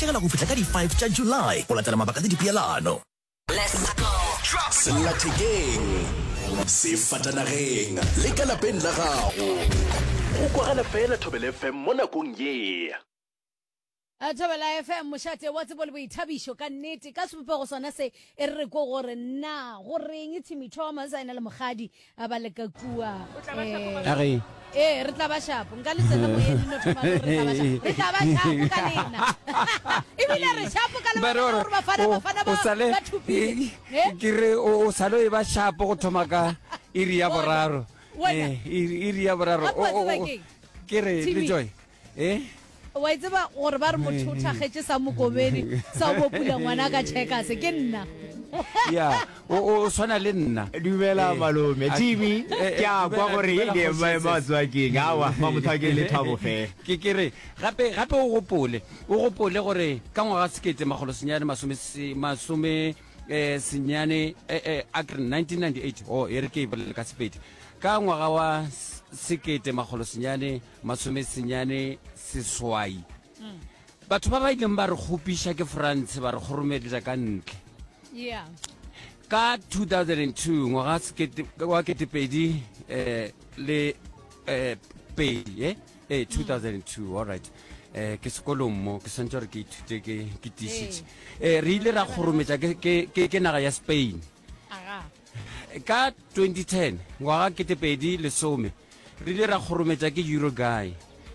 Tlogela go fihla ka di 5 tša July go latela mabaka le dipeelano. Sellathekeng, sefatanageng le ka lapeng la gago. Go kwagala fela Thobela FM mo nakong ye. Thobela FM, mošate wa tsebo le boithabišo ka nnete. Ka sebopego sona se e re re ko gore na go reng Timmy Thomas a ena le mokgadi a ba le ka kua eh, ee re tla ba shapo nka le tsena moyeng no thoma re tla ba shapo re tla ba shapo ka lena ebile re shapo ka lebaka la gore bafana bafana ba ba thopile eh? ke re o sale o e ba shapo go thoma ka iri ya boraro eh, iri ya boraro ke re le joy Eh? Wa e tseba gore ba re motho o thakgetše sa mokobedi sa go pula ngwana ka checkers ke nna. Ya, o o swana le nna. Dumela eh, malome. Timi, eh, ke a kwa gore dumela le kgoši matswakeng. Awa, mamothakeng le thabo fe. Ke ke re gape gape o gopole, o gopole gore ka ngwaga sekete makgolo senyane masome masome eh senyane eh eh a ke re 1998 oh e re ke e bolele ka Sepedi. Ka ngwaga wa sekete makgolo senyane masomesenyane seswai. Batho ba ba ileng ba re kgopiša ke France ba re kgoromeletša ka ntle. Yeah. Ka 2002 ngwaga sekete wa ketepedi eh, le eh, pedi eh? Eh, 2002 all right eh ke sekolong mo ke swantse gore ke ithute ke ke tišitše eh re ile ra kgorometša ke ke ke ke naga ya Spain Aga. ka 2010 ngwaga ketepedi lesome Re ile ra kgorometša ke Uruguay,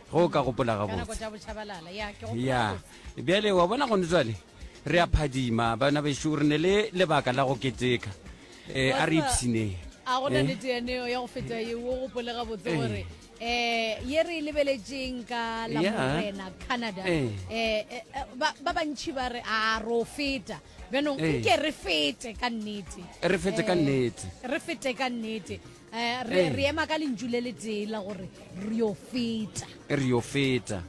ge o ka gopola gabotse. Ya, bjale wa bona gone jwale re a phadima bana bešo, re ne le lebaka la go keteka. Eh, a re ipshineng. A gona eh? nnete yaneo ya go feta ye o gopole gabotse eh. gore eh ye re e lebeletšeng ka la morena Canada eh, eh ba ba bantši ba re a ro feta bjanong nke re fete ka nnete re fete ka nnete re fete ka nnete Eh, re, re ema ka lentšu le letee la gore re yo feta. Re yo feta.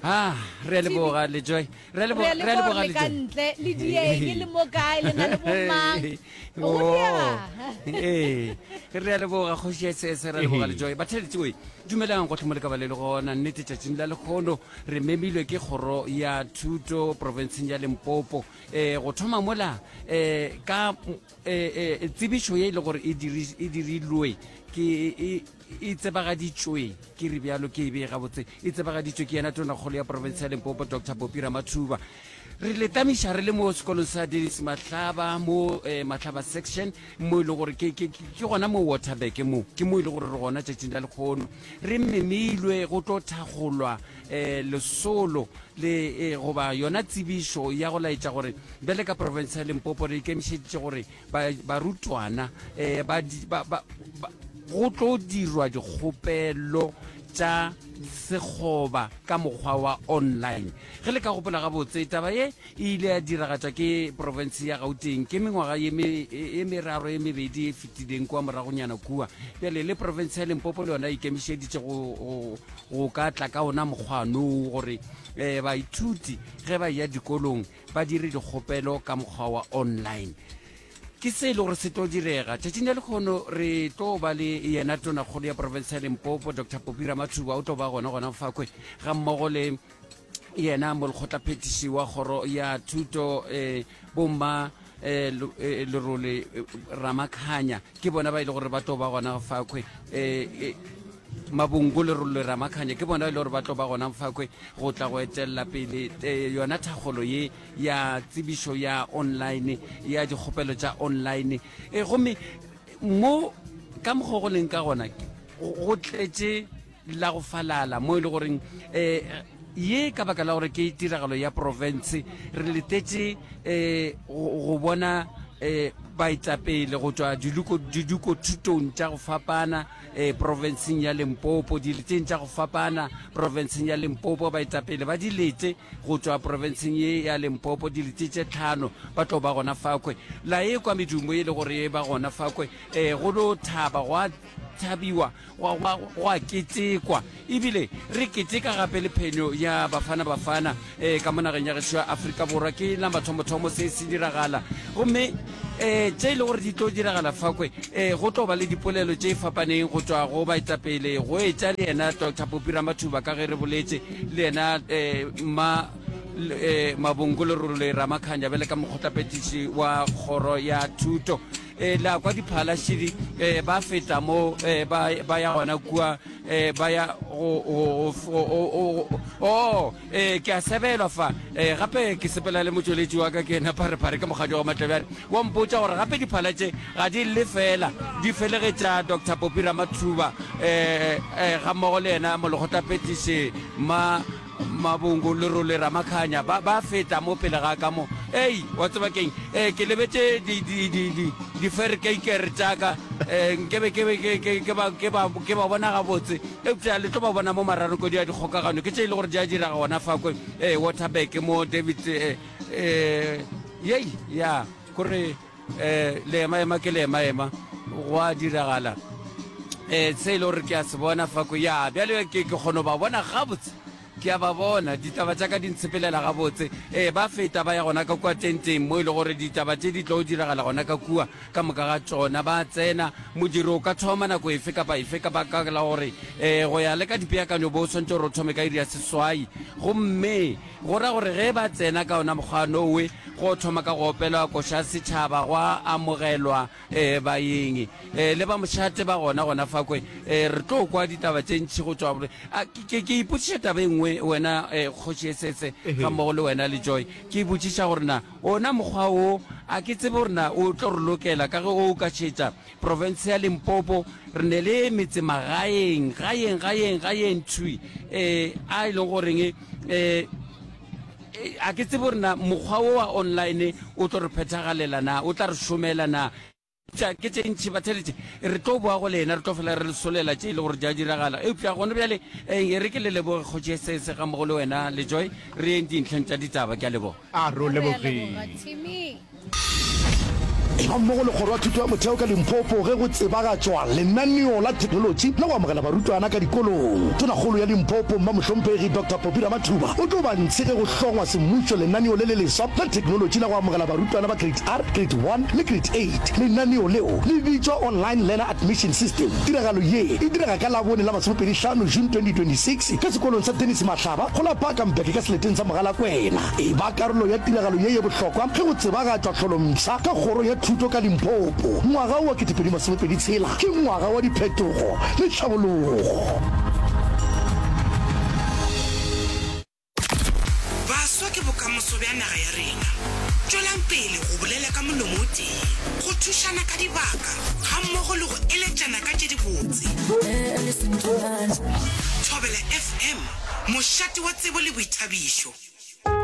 Ah, re a leboga le Joy. Re a leboga, re a leboga le ka ntle le dieng le mo kae le na le bomang. Go diega. Eh, re a leboga kgoši ya SS re a leboga le Joy. Batheletši we, dumelang gotlhe mo le ka ba le le gona nnete tšatšing la lekgono re memilwe ke kgoro ya thuto profenseng ya Limpopo. Eh, go thoma mola eh ka E, e, tsebišo ye e le gore e, e dirilwe ke e, e tsebagaditšwe ke re bjalo ke e bee gabotse e tsebagaditšwe ke yena tonakgolo ya profense ya limpopo dr popi ramathuba re le tamiša re le mo sekolong sa dennis mahlaba mo eh, mahlaba section mo e le gore ke gona mo waterberg mo ke mo e le gore re gona tšatšing la lekgono re memilwe go tlo thakgolwa eh, lesolo le eh, goba yona tsebišo ya go laetša gore bjale ka profense ya limpopo re ikemišeditše gore barutwana eh, ba, ba, ba, ba, go tlo dirwa dikgopelo tša sekgoba ka mokgwa wa online ge le ka gopola gabotse taba ye e ile ya diragatšwa ke profense ya gauteng ke mengwaga ye e meraro ye mebedi e fetileng kua moragonyana kua bjale le profense ya limpopo le yona e ikemišeditše go, go ka tla ka ona mokgwanoo gore um baithuti ge ba ya dikolong ba dire dikgopelo ka mokgwa wa online ke se e le gore se tlo direga tšatšing la lekgono re tlo ba le yena tonakgolo ya profense ya limpopo dr popi ramathuba o tlo ba gona gona fakwe ga mmogo le yena molekgotlaphethiši wa kgoro ya thuto um bomma um lerole ramakhanya ke bona ba e le gore ba tlo ba gona fakhwe um mabongo lerole ramakhanya ke bona e le gore ba tlo ba gona fakhwe go tla go etelela pele yona thakgolo ye ya tsebišo ya online ya dikgopelo tša online e gomme mo ka mokgwa go leng ka gona go tletše la go falala mo e le goreng um ye ka baka la gore ke tiragalo ya profense re letetše um go bona um baetapele go tšwa diduko thutong tša go fapana um profenseng ya limpopo dileteng tša go fapana profenseng ya limpopo baetapele ba dilete go tšwa profenseng ye ya limpopo dilete tše tlhano ba tlo ba gona fakwe la e kwa medumo e le gore e ba gona fakwe um go lo thaba gwa thabiwa go a ketekwa ebile re keteka gape le phenyo ya bafana bafana um ka mo nageng ya gešo ya afrika borwa ke la mathomothomo se se diragala gomme um tše e le gore di tlo diragala fakwe um go tlo ba le dipolelo tše fapaneng go tšwa go baetapele go etša le yena dr popi ramathuba ka ge re boletše le yena um mma. eh, Mabongo Lerole Ramakhanya bjale ka mokgotlaphethiši wa kgoro ya thuto. E, la kwa diphalašidi e, ba feta mo e, ba, ba ya gona kua e, ba ya go, go, go, go, go, oh, e, ke a sebelwa fa e, gape ke sepela le motšweletši wa ka ke ena pharephare ke mokgadi wa Matlebjane wa mpotša gore gape diphala tše ga di lle fela di felegetša Doctor Popi Ramathuba e, e, gammogo le yena molekgotlaphethiši ma Mabungu, Lerole, Ramakhanya, ba, ba feta mo pele ga ka mo. Ei, wa tseba ke'ng? Eh, ke lebetše di, di, di, di, diferkeikere tša ka. Eh, nkebe ke be ke, ke, ke ba, ke ba, ke ba bona gabotse. Eupša le tlo ba bona mo mararokodi a dikgokagano. Ke tše e le gore di a diraga gona fa kwe, eh, Waterberg mo David, eh, eh, yei, ya, kore, eh, leemaema ke leemaema, go a diragala. Eh, se e le gore ke a se bona fa ko, ya, bjale ke, ke kgona go ba bona gabotse. Ke a ba bona, ditaba tša ka di ntshepelela gabotse. Ee, ba feta ba ya gona ka kua tenteng mo e le gore ditaba tše di tlo diragala gona ka kua, ka moka ga tšona. Ba tsena, modiro o ka thoma nako efe kapa efe ka baka la gore um go ya le ka dipeakanyo bo swantše gore o thome ka iri ya seswai. Gomme Go ra gore ge ba tsena ka ona mokgwa nowe, go thoma ka go opelwa koša ya setšhaba, gwa amogelwa e, baeng e, le ba mošate ba gona gona fa kwe. E, re tlo kwa ditaba tše ntši go tšwa. A, ke, ke, ke ipotšiša taba e nngwe wena e, Kgoši Esese ga mmogo le wena le Joy. Ke ipotšiša gore na ona mokgwa wo a ke tsebe gore na o tlo re lokela ka ge o ka šetša Profense ya Limpopo, re ne le metsemagaeng, gaeng, gaeng, gaeng thwi, eh, a e leng goreng, eh, a ke tsebe gore na mokgwa wo wa online o tlo re phethagalela na, o tla re šomela na. Eupša ke tše ntši, batheeletši, re tlo boa go lena, re tlo fela re le solela tše e le gore di a diragala. Eupša gona bjale, eh, e re ke le leboge Kgoši Esese gammogo le wena le Joy, re yeng dintlheng tša ditaba. Ke a leboga. A re o Re a leboga, lebogile. Timmy. Eba mmogo le Kgoro ya Thuto ya Motheo ka Limpopo ge go tsebagatšwa lenaneo la theknolotši la go amogela barutwana ka dikolong. Tonakgolo ya Limpopo, Mma Mohlomphegi Doctor Poppy Ramathuba o tlo ba ntshe ge go hlongwa semmušo lenaneo le le leswa la theknolotši la go amogela barutwana ba Grade R, Grade One le Grade Eight. Lenaneo leo le bitšwa Online Learner Admission System. Tiragalo ye e direga ka Labone la masomepedihlano June 2026 ka sekolong sa Tennis Mahlaba go la Bakenberg ka seleteng sa Mogalakwena. E ba karolo ya tiragalo ye ye bohlokwa ge go tsebagatšwa tlholompsha ka Kgoro ya Thuto ka Limpopo. Ngwaga wo wa 2026 ke ngwaga wa diphetogo le tlhabologo. Baswa ke bokamoso bja naga ya rena. Tšwelang pele go bolela ka molomo o tee, go thušana ka dibaka gammogo le go eletšana ka tše dibotse. Thobela FM, mošate wa tsebo le boithabišo.